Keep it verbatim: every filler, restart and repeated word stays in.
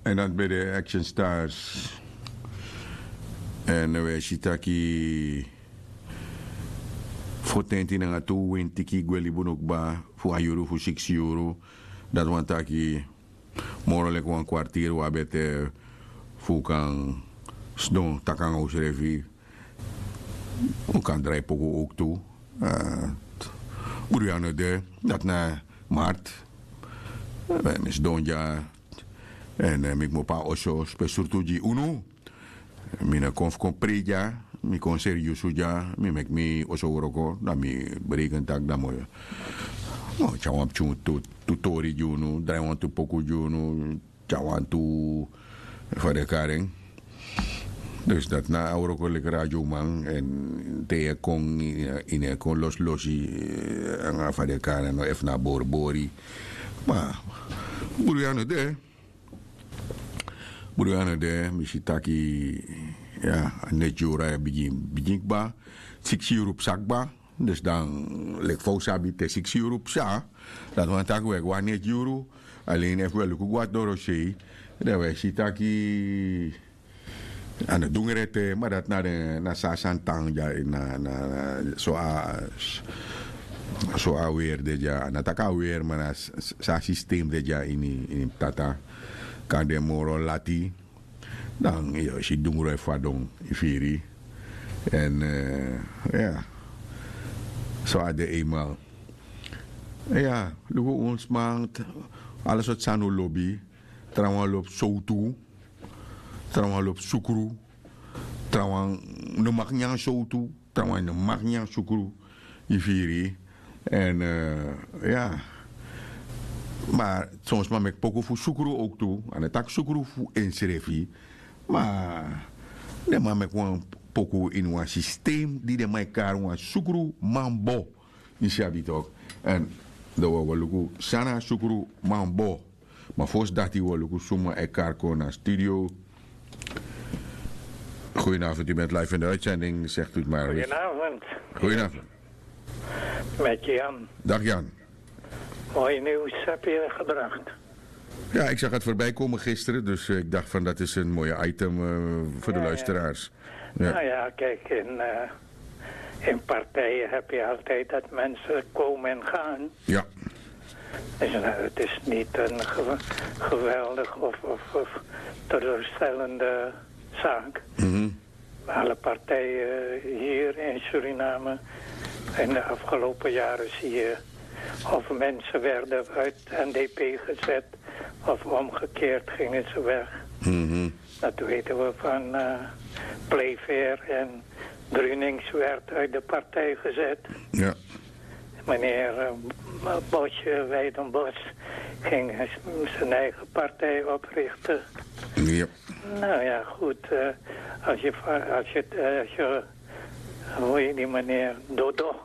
En dat ben de Action Stars. En we si taki fotenti nanga tu wintiki gwe libi unu kba fu a yuru fu siksi yuru. Dati wani taki moro leki wan kwartiri wi abi ete fu wi kan sidon taki nanga usrefi. Wi kan drai poku owktu. Bruya no de. Dati na mart. Mi sidon dya. Èn mi kmopo na oso spesurtu gi unu. Mi no kon fu kon prei dya. Mi kon seriusu dya. Mi meki mi oso wroko dan mi breken taki dan mi o tyari wan pikin tu tori gi unu drai wantu poku gi unu. Tyari wantu fa den e kari en. Dus dati na a wroko leki radioman èn te yu e kon yu no e kon losilosi. Nanga fa den e kari en no efu na a boribori. Ma bruya no de. Bruya no de mi si taki ya a neti yuru a e bigin bigin kba. Siksi yuru psa kba. Dus dan leki fa un sabi te siksi yuru psa. Dati wani taki un e go na neti yuru. Alen efu un e luku go na dorosei dan un e si taki a no dungre ete ma dati na den na so a sani tan dya ini a na na so a so a weri de dya a no taki a weri ma na so a sistem de dya ini ini ptata. Kan de moro lati. Dan yu o si dungru e fadon yu firi. Èn ya so a de eimal. Ya luku un sma ala sortu sani un lobi. Trawan lobi sowtu. Trawan lobi sukru. Trawan no maki nyan sowtu. Trawan no maki nyan sukru. Yu firi. Èn ya ma son sma meki poku fu sukru owktu. A no taki sukru fu ensrefi. Ma den man meki wan poku ini wan sistem di den man e kari wan sukru manbo. Yu si abi tok. Èn dan wi o go luku san na a sukru manbo. Ma fosi dati wi o luku suma e kari kon na studio. Goedenavond u bent live in de uitzending zegt u het maar. Goedenavond. Goedenavond. Met Jan. Dag Jan. Mooi nieuws heb je gebracht. Ja, ik zag het voorbij komen gisteren, dus ik dacht van dat is een mooie item voor de luisteraars. Nou ja, kijk, in, in partijen heb je altijd dat mensen komen en gaan. Ja. Dus het is niet een geweldig of teleurstellende zaak. Alle partijen hier in Suriname in de afgelopen jaren zie je of mensen werden uit N D P gezet of omgekeerd gingen ze weg. Dat weten we van Playfair en Brunings werd uit de partij gezet. Ja. Meneer Bosje, Weidenbos, ging zijn eigen partij oprichten. Ja. Nou ja, goed. Als je, als je, als je hoe heet die meneer? Dodo.